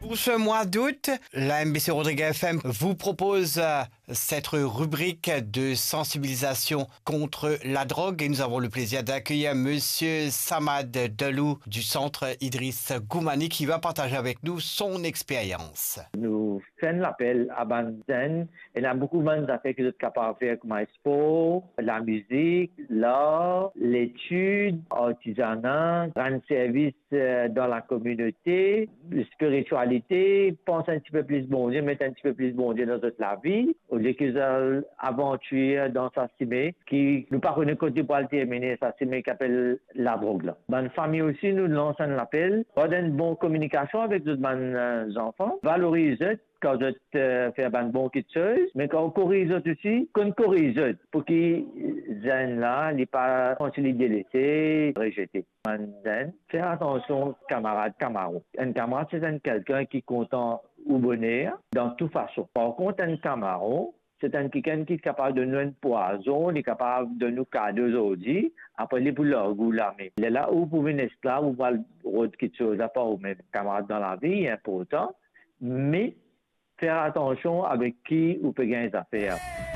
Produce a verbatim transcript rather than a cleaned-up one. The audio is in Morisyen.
Pour ce mois d'août, la M B C Rodrigues F M vous propose euh, cette rubrique de sensibilisation contre la drogue et nous avons le plaisir d'accueillir Monsieur Samad Delou du Centre Idriss Goumani qui va partager avec nous son expérience. Nou fer enn lapel a bann zenn, ena boukou bann zafer ki zot kapav fer, kouma spor, lamizik, lar, letid, artizana, rann servis eh, dan lakominote, spiritialite, pans enn tipe plis Bondie, met enn tipe plis Bondie dan zot lavi, olie ki zot al avantir dan sa sime ki nou pa kone kot li pou al termine, sa sime ki apel ladrog la. Bann fami osi, nou lans enn lapel, gard enn bon kominikasion avek zot bann eh, zanfan, valoriz zot, kan zot eh, fer bann bon kitsoz, me kan ou koriz zot osi, konn koriz zot, pou ki zenn la, li pa, kouma si li delese, rezete. Bann zenn, fer atansion kamarad kamaron. Enn kamarad, se enn kikenn ki kontan ou boner dan tou fason. Par kont, enn kamaron, se enn kikenn ki kapav donn nou enn pwazon, li kapav donn nou kado zordi, apre li pou larg ou lame. Lerla ou pou vinn esklav, ou pou al rod kitsoz apar oumem. Kamarad dan lavi, li inportan, me fer atansion avek ki ou pe gagn zafer.